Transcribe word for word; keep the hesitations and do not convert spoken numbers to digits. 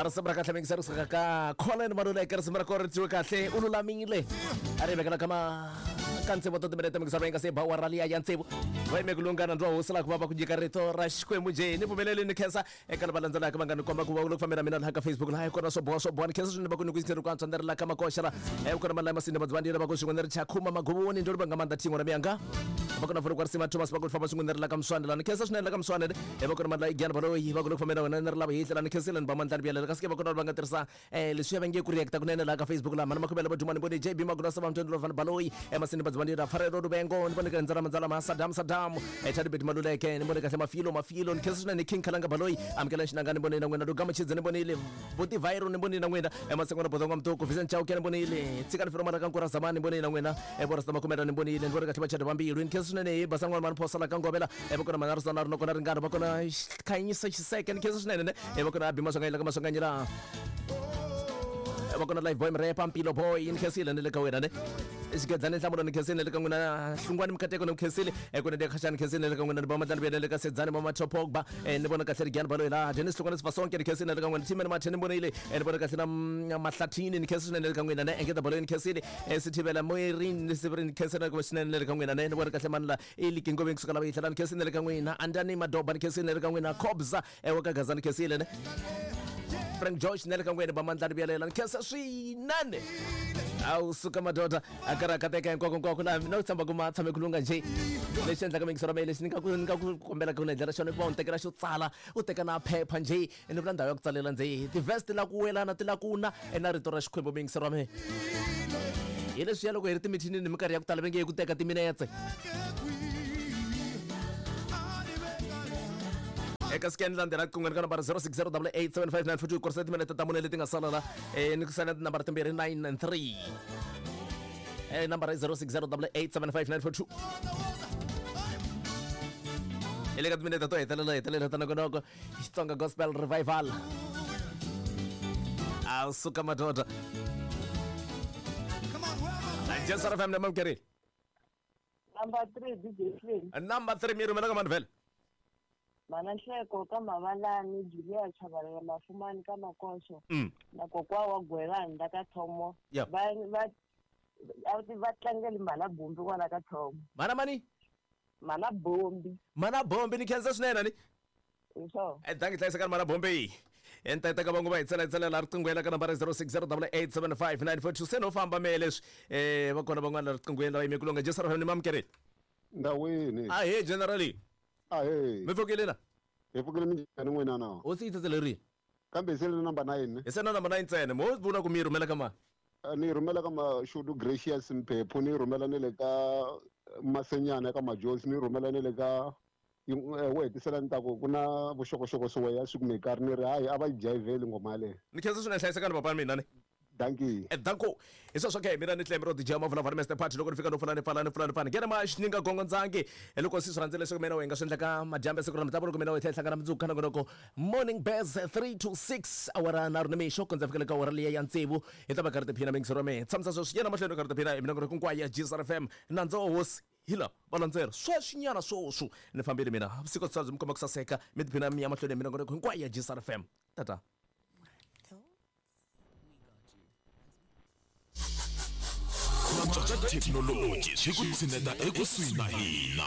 A risimu ra kahle mingiseri kusuka ka Colin Maluleke, risimu ra kona ri twiwe kahle, u lulamile. A ri vekela ka ma ka ntsevu ta timinete mingiseri va nga se ba awara liya ya ntsevu. Va yime ku lungana ndzi wa hosi laha ku va va ku nyika rito ra Xikwembu njhe. Ni pfumeleli ni khensa eka lava landzelaka va nga ni komba ku va ku fambela mina laha ka Facebook laha kona swo boha swo boha. Ni khensa swinene va ku ni ku yingisela ku antswa ni ri la ka makoxa la. Eh kona malaya masinde madzivandile va ku swin'we ni ri chakhuma maguvuni ndo ri va nga mandla thingo ra miyanga. Va kona vula ku risima Thomas va ku famba swin'we ni ri la ka Mswane la. Ni khensa swinene la ka Mswane eh va kona mandla Igyana Baloyi va ku loko fambela wena ni ri lava hihla la. Ni khensile ni ba mandla ni byalela kasi ke va kona va nga tirhisa eh leswi va nge ku react kunene la ka Facebook la mana makhubela va duma ni vone J B Magulasa va mtondlo van Baloyi eh masinde madzivandile Farelo Rubengo ni vone ka ndzara mandzala ma Saddam Saddam eh Chadibet Maluleke ni vone kahle Mafilo Mafilo ni khensa swinene King Khalanga Baloyi amukela xinanga ni vone na n'wina Lugama Chidze ni vonile Buti Vairo ni vonile na n'wina eh Masengwana Bodonga Mtoko Vincent Chauke ni vonile Tsikani Firo Mara ka Nkura Zamani ni vonile na n'wina eh Borasta Makhumela ni vonile ni vone kahle Vachadi Vambilu ni khensa swinene hi Basangwana Mani Phosa la ka Ngovela eh va kona Manarisa na ri kona Ringana va kona Khanyisa Xiseke ni khensa swinene ne eh va kona Abi Maswanganyi la ka Maswanganyi la eh va kona Live Boy Mrepa Mpilo Boy ni khensile ni le ka wena ne Xigedzani Nhlamulo ni khensile le ka n'wina Hlungwani Mkateko ni khensile eh kuna Khashani khensile le ka n'wina ni ba Mandlani Biyele le ka Sedzani Mama Pogba eh ni vona kahle Rigyana Baloyi la Dennis Hlungwani Sifasonke ni khensile le ka n'wina Timeni Mathe ni vonile eh ni vona kahle na Mahlathini ni khensile swinene le ka n'wina ne Engeta Baloyi ni khensile eh Sithibela Moirin ni Sibirin ni khensile ku swinene le ka n'wina ne ni vona kahle mani la Eli Kingoveni kusuka lava yihlela ni khensile le ka n'wina Andani Madoba ni khensile le ka n'wina Khobza eh wa ka Gaza ni khensile ne Frank George ne le ka n'wina ba Mandlani Biyele ni khensa swinene. Awu suka madoda a karhi a kateka hinkwako hinkwako laha mina u tshemba ku ma tshame ku lungha njhe. Lexi endlaka mingisero ra mehe lexi ni nga ku ni nga ku kombelaka ku ni endlela xona i ku va u ni tekela xo tsala u teka na phepha njhe ni vula ndhawu ya ku tsalela njhe ti-verse ti la ku welana ti la ku na na rito ra Xikwembu mingisero ra mehe. Hi leswiya loko hi ri timithinini minkarhi ya ku tala va nge ku teka timinetse. Eka scan landzela riqingho ka nambara zero six zero double eight seven five nine four two kurisa timinete ta mune leti nga sala la eh ni ku sala tinambara timbirhi nine and three eh nambara zero six zero double eight seven five nine four two hi le ka timinete to hetelela hetelela ta nongonoko Xitsonga Gospel Revival. A suka madoda Jensara F M na mamkerile Number three D J Slim. Number three mi rhumela ka mani vhele? Mana Nhleko ka Mavalani, Julia Chabalala Mafumani ka Makoxo. Mm. Na kokwa wa Gwelani la ka Thomo. Yeah. Va va va tlangeli Mana Bombi kwala ka Thomo. Mana mani? Mana Bombi. Mana Bombi ni khensa swinene ni. So. Eh dangi hlayisa ka Mana Bombi. Enta ka vangu va hi tsela tsela la riqingho ka nambara zero six zero double eight seven five nine four two se no famba me leswi eh va kona van'wana la riqingho la yime ku longa Jesu ni mamkerile. Ndawini. Ah hey generally. Ah hey. Mi pfukile na? Hi pfukile minjhani n'wina na? Hosi yi tsetelerile. Kambe hi se na number nine. Hi se na number nine ntsena. Mo vula ku mi rhumela ka mani? Ni rhumela ka Mashudu Gracious Mphephu, ni rhumela ni le ka Masenyana ka Majosi, ni rhumela ni le ka wo hetisela ni ta ku ku na vuxokoxoko swo ya swi kumekari ni ri hayi a va yi jayiveli nghoma yaleyo. Ni khensa swinene hlayisekani papa mina ni. Dankie. Eh danko. Hi sweswo ke mina ni Clem ro D J Mavula va Mister Party loko ni fika no pfula ni pfala ni pfula ni pfala ngena ma xininga gongo ndzangi hi loko si swi rhandzile leswaku mina u nga swi endlaka madyambu ya siku ra mitlangu loko mina u tlhela hlangana mundzuku ka nongonoko Morning Bears three to six awara nharhu ni mixo ku ndza fikela ka awara liya ya tsevu hi ta va karhi tiphina mingisero ya mehe tshamisa sweswi yena mahlweni karhi tiphina hi minongonoko hinkwayo ya G S R F M nandza wa hosi hi la va landzela sweswinyana swoswo ni fambile mina vusiku byi mi komba ku saseka mi tiphina mi ya mahlweni hi minongonoko hinkwayo ya G S R F M tata. Technology swi ku tshineta ekusuhi na hina.